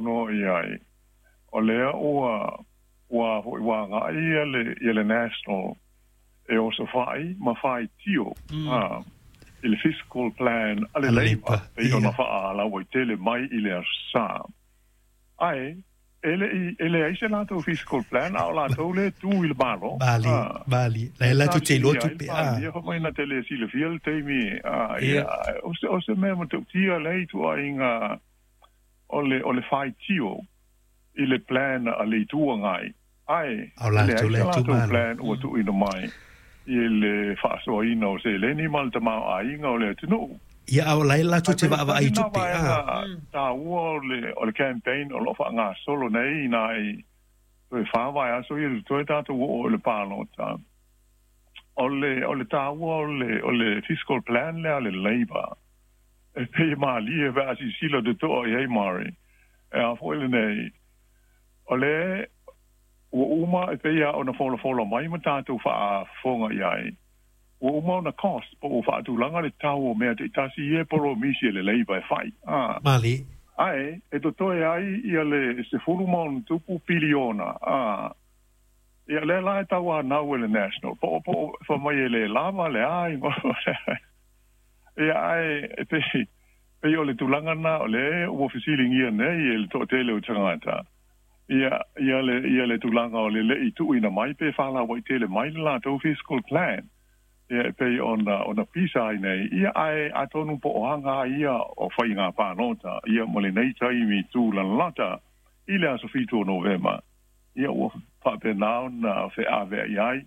Saunoa i ai, o lea ua fo'i ua aga'i ia le National e osofai ma faitio i le fiscal plan a le A le Labour Labour, pei ona faalauaitele mai i le aso Sa. Ae e le'i e leai se latou fiscal plan, a o latou le tu i le Malo. Mali, mali. La Sa latou te iloa fesiligia ai le tupe Palemia fa mai na te le silafia le taimi ia. O se mea matautia lea ituaiga o le faitio i le plan a le Itu Agai, ae A o e latou leai le se latou itumalo. plan ua tuuina mai i le faasoaina o seleni ma le tamaoaiga o le atunuu. Ia, a o la e latou Ae te pei o vaavaai tasi i na tupe vaega taua o le campaign o loo faagasolo nei nai toe 4 vaiaso ia toe tatou oo i le palota. O le taua o le fiscal plan lea a le Labour, e pei e malie pe a silasila totoa i ai, Mari, e a foi lenei o le ua uma e pei a ona folafola mai ma tatou faafofoga i ai, ua uma ona cost po ua faatulaga le tau o mea taitasi ia e polomisi e le Labour e fai Mali. Ae e totoe ai ia le 10+ piliona ia lea la e tauanau e le National po fa mai e le lava le ai ia. Ae e pei o le tulaga na o le ua fesiligia nei e le toatele o tagata ia le tulaga o le le'i tuuina mai pe faalauaitele mai le latou fiscal plan ia e pei ona pisa ai nei ia. Ae atonu po o aga ia o faiga palota ia mo lenei taimi tūlalata i le aso 7 o Novema ia ua faapena ona feaveai ai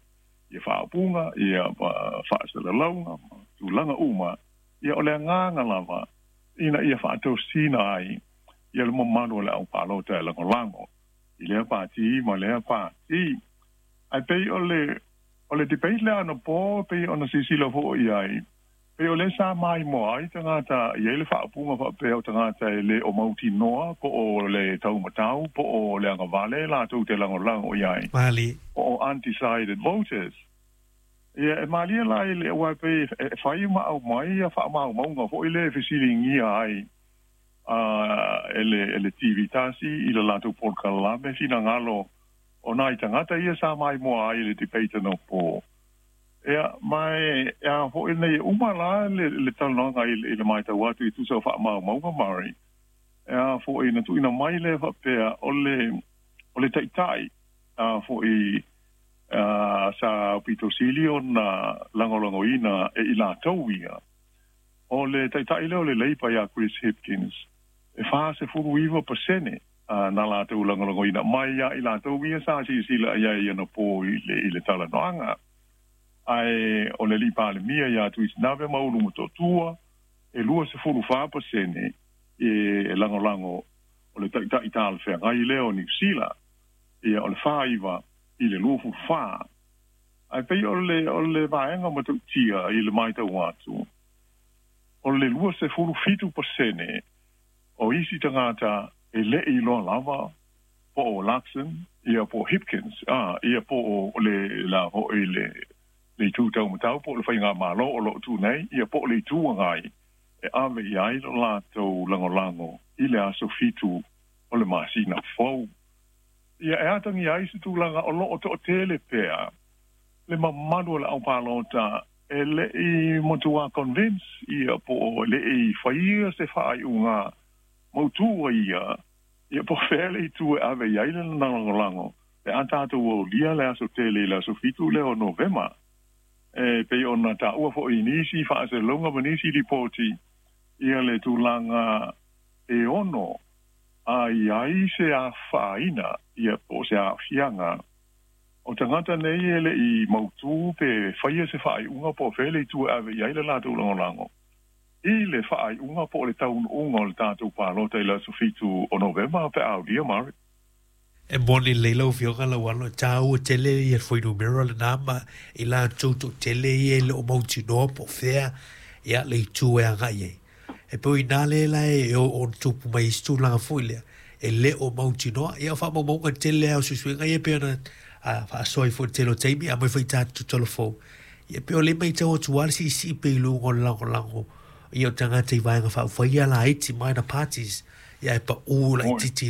ia faaupuga ia ma faasalalauga ma tulaga uma ia. O le agaga lava ina ia faatosina ai ia le mamalu o le aupalota e lagolago i lea pati ma lea pati. Ae pei o le debate lea anapo, pei ona silasila fo'i ai, pei o lea sa maimoa ai tagata i ai le faaupuga faapea o tagata e le o mautinoa po o le taumatau po o le agavale latou te lagolago i ai, Mali. po o undecided voters ia. E malie la i le ua pei e fai ma aumai ia faamaumauga fo'i le fesiligia ai e le TV tasi i le latou polokalame finagalo o nai tagata ia sa maimoa ai i le debate anapo ia. Ma e a fo'i nei uma la le talanoaga i le matau atu i tusa o faamaumauga, Mari, e a fo'i na tuuina mai le faapea o le taitai a fo'i sa pito sili ona lagolagoina e i latou ia, o le taitai lea o le Labour ia Chris Hipkins, e 49% na latou lagolagoina mai ia i latou ia sa silasila i ai anapo i le talanoaga. Ae o le alii Palemia ia Tuisinave ma Ulu Motootua e 24% e lagolago o le taitai talafeagai lea o Niu Sila ia, o le 49 i le 24. Ae pei o le vaega matautia i le matau atu, o le 27% o isi tagata e le'i iloa lava po o Luxon ia po o Hipkins ia po o le la fo'i le itu taumatau po o le faigamalo o loo tu nei ia po o le Itu Agai e ave i ai lo latou lagolago i le aso 7 o le masina fou ia. E atagia ai se tulaga o loo toatele pea le mamalu o le aupalota e le'i matua convince ia po o le'i faia se faaiuga mautu ia ia po fea le itu e ave i ai le lagolago pe a tatou aulia le aso tele i le aso 7 lea o Novema. E pei ona taua fo'i i nisi faaselauga ma nisi lipoti ia le tulaga e ono a i ai se afaina ia po o se aafiaga o tagata nei e le'i mautū pe faia se faaiuga po o fea le itu e ave i ai le latou lagolago i le faaiuga po o le taunuuga o le tatou palota i le aso 7 o Novema pe a aulia, Mari. E moni lelei lau Afioga Lauano, e tāua tele ia le fuainumera lenā ma i latou toatele ia e le o mautinoa po o fea ia le itu e agai ai. E pei o iā lea la e oo ona tupu mai ai se tulaga foi lea e le o mautinoa. Ia, o faamaumauga tele lava o suesuega ia pei ona faasoa ai foi i le tele o taimi aumai foi tatou talafou. Ia pei o lea e matau atu lava le siisii pea i luga o le lagolago ia o tagata i vaega faaupufai ia laiti, minor parties, ia e paū laitiiti.